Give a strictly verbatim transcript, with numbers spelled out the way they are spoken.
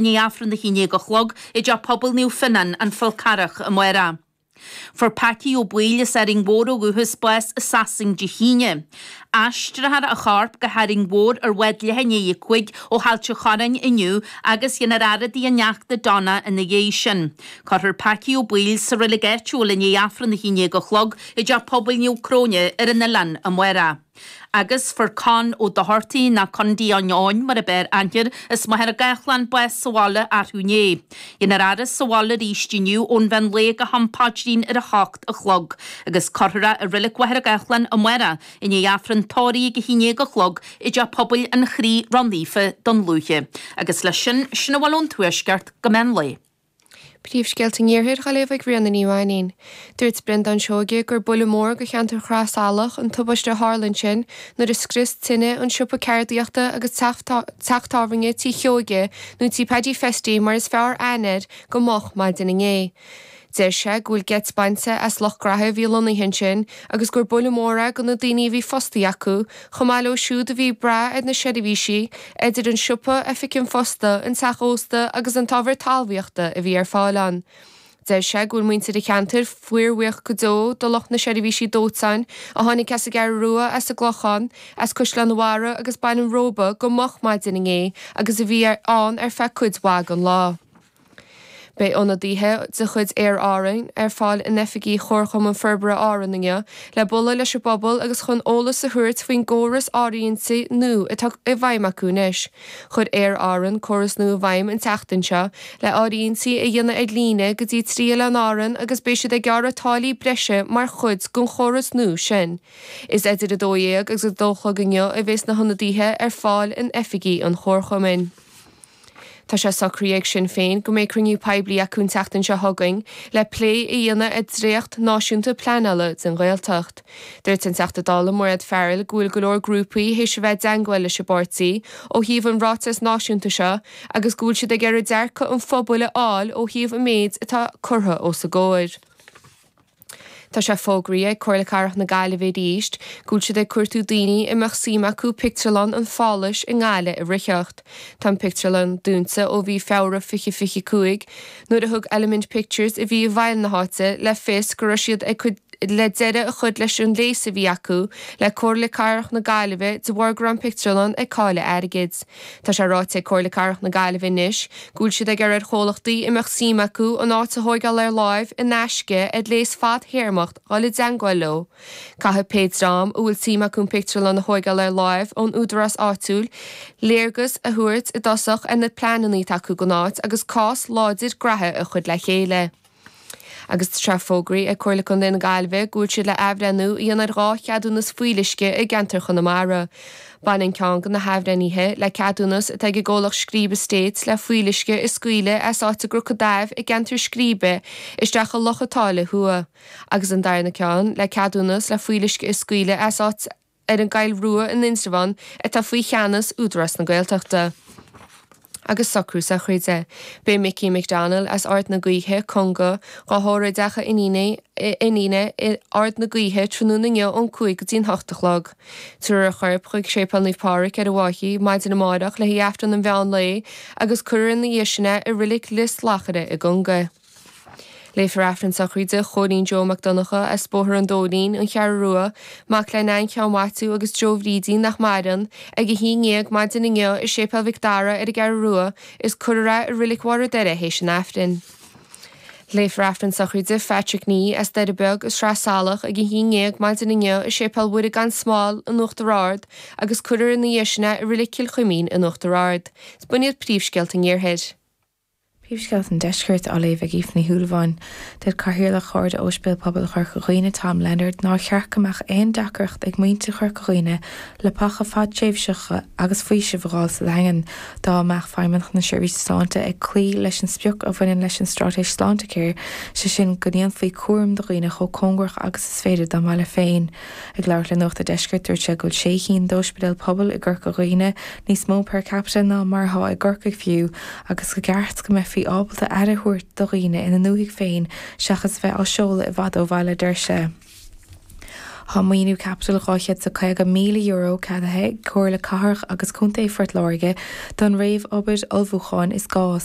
ndiaidh Aifreann a haon déag a chlog i dTeach Pobail Naomh Fionnán, An Fál Carrach, amárach. Fuair Packie Ó Baoill as Árainn Mhór ó dhúchas bás i Sasain Dé hAoine. Aistreofar a chorp go hÁrainn Mhór ar bhád leath i ndiaidh a cúig ó Ailt an Chorráin inniu agus dhéanfar faire dá ineachta Donna ina dhiaidh sin. Cuirfear Packie Ó Baoill sa reilig áitiúil i ndiaidh Aifreann a haon déag a chlog i dTeach Pobail Naomh Cróine ar an oileán amárach. Agus fuair Con Ó Dochartaigh, nó Condaí an Eoin mar ab fhearr aithne air, as Machaire Gathlán bás sa bhaile arú inné. Dhéanfar a fhaire sa bhaile arís inniu ón mheán lae go ham paidrín ar a hocht a chlog, agus cuirfear é i Reilig Mhachaire Gathlán amárach i ndiaidh Aifreann tórraimh ag a haon déag a chlog i dTeach Pobail an Chroí Ró-Naofa Dún Lúiche. Agus leis sin, sin a bhfuil ón Tuaisceart go meán lae. Príomhscéalta an Iarthair á léamh ag Ríona Ní Mhainín. Dúirt Breandán Seoige gur buille mór do cheantar Shraith Salach an tubaiste a tharla ansin nuair a scrios tine an siopa ceardaíochta agus teach tábhairne Tí Sheoige nó Tí Paddy Festy mar is fearr aithne air go moch maidin inné. Deir sé go bhfuil geit bainte as lucht graithe a bhí lonnaithe ansin agus gur buille mór é do na daoine a bhí fostaithe acu, chomh maith leo siúd a bhí ag brath ar na seirbhísí, idir an siopa, oifig an phosta, an teach ósta agus an t-ábhar talmhaíochta a bhí ar fáil ann. Deir sé go bhfuil muintir an cheantair fíorbhuíoch go deo do lucht na seirbhísí dóiteáin a tháinig as an gCeathrú Rua, as an gClochán, as Caisleán an Bharraigh agus Baile an Róba go moch maidin inné agus a bhí ann ar feadh cuid mhaith den lá. Beidh ionadaithe de chuid Aer Árann ar fáil in oifigí Chomharchumann Forbartha Árann inniu le bualadh leis an bpobal agus chun eolas a thabhairt faoin gcóras áirithinte nua atá i bhfeidhm acu anois. Chuir Aer Árann córas nua i bhfeidhm an tseachtain seo le áirithintí a dhéanamh ar líne go dtí trí oileán Árann agus beidh siad ag gearradh táillí breise mar chuid den chóras nua sin. Is idir a dó dhéag agus a dó a chlog inniu a bheas na hionadaithe ar fáil in oifigí an Chomharchumainn. Tá sé socraithe ag Sinn Féin go mbeidh cruinniú poiblí acu an tseachtain seo chugainn le plé a dhéanamh ar dhréacht náisiúnta pleanála don Ghaeltacht. Dúirt an Teachta Dála Mairéad Farrell go bhfuil go leor grúpaí théis a bheith i dteagmháil leis an bpáirtí ó thaobh an ráiteas náisiúnta seo agus go bhfuil siad ag iarraidh dearcadh an phobail a fháil ó thaobh an méid atá curtha os a gcomhair. Tá sé fógraithe ag Comhairle Cathrach na Gaillimhe arís go bhfuil siad ag cuartú daoine a mbeadh suim acu pictiúrlann an Phálas i nGaillimh a ritheacht. Tá an pictiúrlann dúnta ó mhí Feabhra fiche fiche cúig nuair a thug Element Pictures a bhí i bhfeighil na háite le fios go raibh siad ag cur le deireadh a chur leis an léas a bhí acu le Comhairle Cathrach na Gaillimhe de bharr go raibh an pictiúrlann ag cailleadh airgid. Tá sé ráite ag Comhairle Cathrach na Gaillimhe anois go bhfuil siad ag iarraidh ar chomhlachtaí a mbeadh suim acu an áit a thóigeáil ar láimh in aisce ar léas fadthéarmach dul i dteangmháil leo. Caithfidh pé dream a bhfuil suim acu an pictiúrlann a thóigeáil ar láimh ón údarás áitiúil léargas a thabhairt i dtosach ar na pleananna atá acu don áit agus cás láidir graithe a chur le chéile. Agus tá sé fógraithe ag Comhairle Contae na Gaillimhe go bhfuil siad le athbhreithniú a dhéanamh ar dhá cheadúnas fuíolluisce i gceantar Chonamara. Baineann ceann de na hathbhreithnithe le ceadúnas atá ag an gcomhlacht Scríb Estates le fuíolluisce a scaoileadh as áit i gCnoc an Daimh i gceantar Scríbe isteach i Loch an tSáile Thuaidh, agus an darna ceann le ceadúnas le fuíolluisce a scaoileadh as áit ar an gCoill Rua in Indreabhán atá faoi cheannas Údarás na Gaeltachta. Agus socrú sochraide. Beidh Mickey McDonnell as Ard na Gaoithe, Conga, dhá thórramh i dteach a iníne iníne i Ard na Gaoithe tráthnóna inniu ón cúig go dtí'n hocht a chlog. Tabharfar a chorp chuig Séipéal Naomh Pádraig ar an bhFaiche maidin amárach le haghaidh Aifreann an mheán lae agus cuirfear ina dhiaidh sin é i Reilig Lios Lachaire i gConga. Léifear Aifreann sochraide Chóilín Joe Mac Donncha as Bóthar an Dóilín, An Cheathrú Rua, mac le Nain Sheáin Mhaitiú agus Joe Bhrídín nach maireann, ag a haon déag maidin inniu i Séipéal Mhic Dara ar an gCeathrú Rua is cuirfear é i Reilig Bharr an Doire théis an Aifrinn. Léifear Aifreann sochraide Phatrick Nee as Doire Beag i Sraith Salach ag a haon déag maidin inniu i Séipéal Mhuire gan Smál in Uachtar Ard agus cuirfear ina dhiaidh sin é i Reilig Chill Chuimín in Uachtar Ard. B'in iad príomhscéalta an Iarthair. Príomhscéalta an Deiscirt á léamh ag Aoife Ní Shúilleabháin. Deir Cathaoirleach Chairde Ospidéal Pobail Chorca Dhuibhne, Tom Leonard, nár cheart go mbeadh aon deacracht ag muintir Chorca Dhuibhne leapacha fadtréimhseacha agus faoiseamh a fháil sa Daingean dá mbeadh Feidhmeannacht na Seirbhíse Sláinte ag cloí leis an sprioc a bhaineann leis an straitéis Sláintecare, sé sin go ndéanfaí cúram do dhaoine chomh cóngarach agus is féidir dá mbaile féin. Ag labhairt le Nuacht a' Deiscirt, dúirt sé go bhfuil sé chinn d'ospidéil pobail i gCorca Dhuibhne, níos mó per capita ná mar atá i gCorcaigh fiú, agus go gceart go mbeifí ábalta aire a thabhairt do dhaoine ina ndúthaigh féin seachas a bheith á seoladh i bhfad ó bhaile, deir sé. Tá maoiniú caipitil dhá chéad is caoga míle euro ceadaithe ag Comhairle Cathrach agus Contae Phort Láirge don réamhobair ullmhúcháin is gá